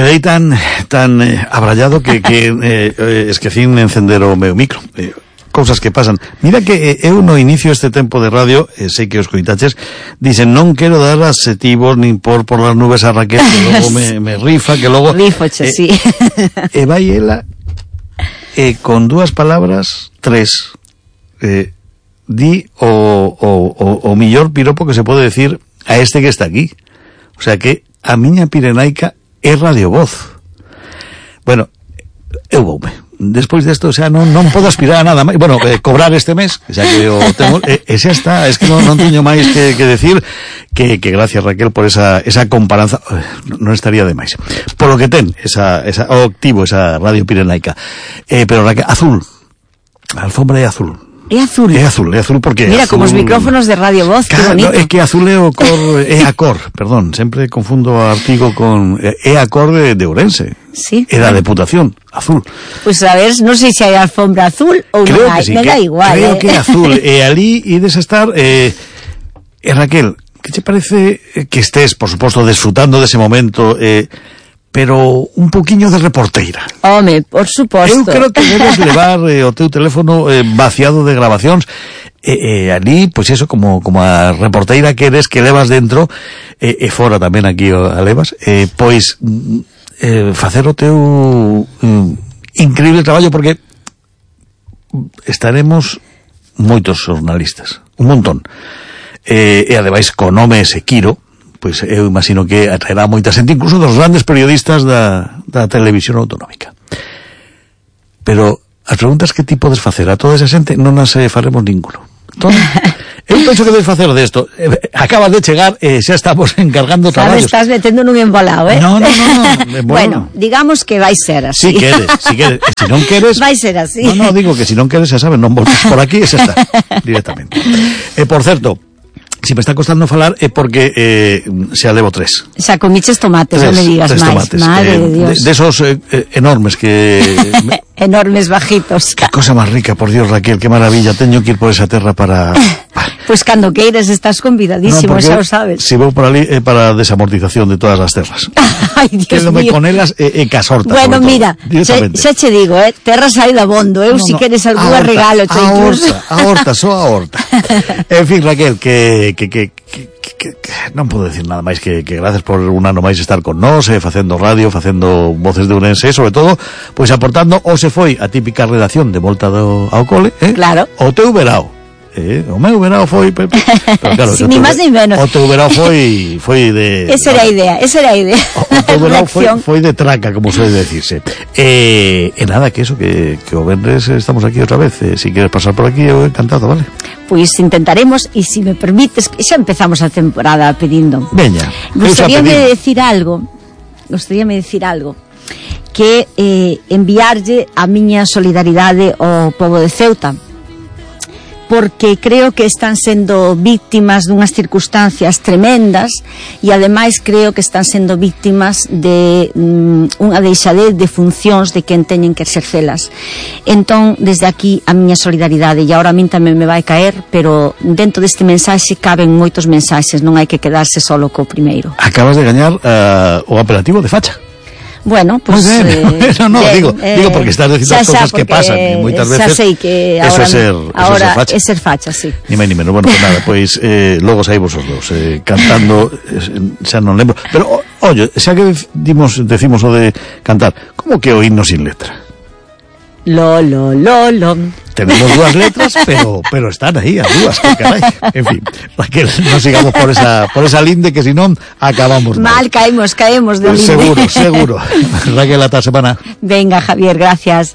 Quedei tan abrallado que esquecín encender o meu micro. Cousas que pasan. Mira que eu no inicio este tempo de radio, sei que os coitaches, dicen, non quero dar adxetivos nin por las nubes a Raquel, que logo me rifa, que logo... Rifoche, sí. E vai ela, con dúas palabras, tres, di o millor piropo que se pode decir a este que está aquí. O sea que a miña Pirenaica é radiovoz. Bueno, eu voume. Despois desto, o sea, non podo aspirar a nada máis. Bueno, cobrar este mes, xa que o tengo, xa está, es que non teño máis que decir que gracias, Raquel, por esa comparanza, non estaría de máis. Por lo que ten, o activo, esa radio Pirenaica. Pero Raquel, azul. A alfombra é azul. É azul. É azul porque... Mira, azul... como os micrófonos de Radio Voz, claro, que bonito. É que azul é o cor, é a cor, perdón, sempre confundo o artigo con... É a cor de Ourense. Sí. É da Deputación, azul. Pues a ver, non sei se hai alfombra azul ou non hai, me da igual. Creo que é azul, e ali ides a estar... Raquel, que te parece que estés, por suposto, disfrutando dese momento... pero un poquinho de reporteira. Home, por suposto. Eu creo que debes levar o teu teléfono vaciado de grabacións ali, pois eso, como a reporteira que eres, que levas dentro, e fora tamén aquí a levas, pois facer o teu increíble traballo, porque estaremos moitos xornalistas, un montón. E ademais, co nome Sequiro, pois eu imagino que atraerá moita xente, incluso dos grandes periodistas da televisión autonómica. Pero as preguntas que ti podes facer a toda esa xente non as faremos ninguno. Entón, eu penso que debes facer desto. Acabas de chegar e xa estamos encargando traballos. Estás metendo nun embolado, No. Bueno, digamos que vai ser así. Si queres. Se non queres... Vai ser así. No, digo que se non queres, xa sabes, non volves por aquí e xa está, directamente. Por certo, si me está costando falar é porque xa levo 3. Xa comiches tomates, non me digas máis. Madre de Dios. De esos enormes que... enormes bajitos. Que cosa máis rica, por Dios, Raquel, que maravilla. Teño que ir por esa terra para... Pues cando queires estás convidadísimo, xa o sabes. Si vou por ali é para a desamortización de todas as terras. Ai, Dios Quédome mío. con elas e casortas. Bueno, mira, xa che digo, terras hai dabondo, si queres algún regalo, che incluso. A horta, só a horta. En fin, Raquel, que non podo decir nada máis que gracias por un ano máis estar con nós, facendo radio, facendo Voces de Ourense, sobre todo, pois aportando, ou se foi a típica redacción de volta ao cole, claro. O teu verao. O meu verao foi... Pero claro, ni máis ni menos. O teu verao foi de... Esa era a idea. O teu verao foi de traca, como suele decirse. E nada, que eso, que o venres estamos aquí outra vez. Si queres pasar por aquí, eu encantado, vale? Pois intentaremos, e se me permites, xa empezamos a temporada pedindo. Veña. Gostaríame decir algo, que enviarlle a miña solidaridade ao pobo de Ceuta, porque creo que están sendo víctimas dunhas circunstancias tremendas e ademais creo que están sendo víctimas de unha deixadez de funcións de quen teñen que exercelas. Entón, desde aquí a miña solidaridade, e agora a min tamén me vai caer, pero dentro deste mensaxe caben moitos mensaxes, non hai que quedarse solo co primeiro. Acabas de gañar o apelativo de facha. Bueno, pues... digo porque estás dicindo as cousas que pasan e moitas veces... Xa sei que ahora é ser facha, sí. Ni máis ni menos. Bueno, pues nada, pois logo saímos os dos cantando, xa non lembro. Pero, oye, xa que decimos o de cantar, como que o himno sin letra? Lo. Tenemos dúas letras, pero están aí as dúas, que carai. En fin, Raquel, non sigamos por esa linde, que senón acabamos mal. Caemos de linde. Seguro. Raquel, ata a semana. Venga, Javier, gracias.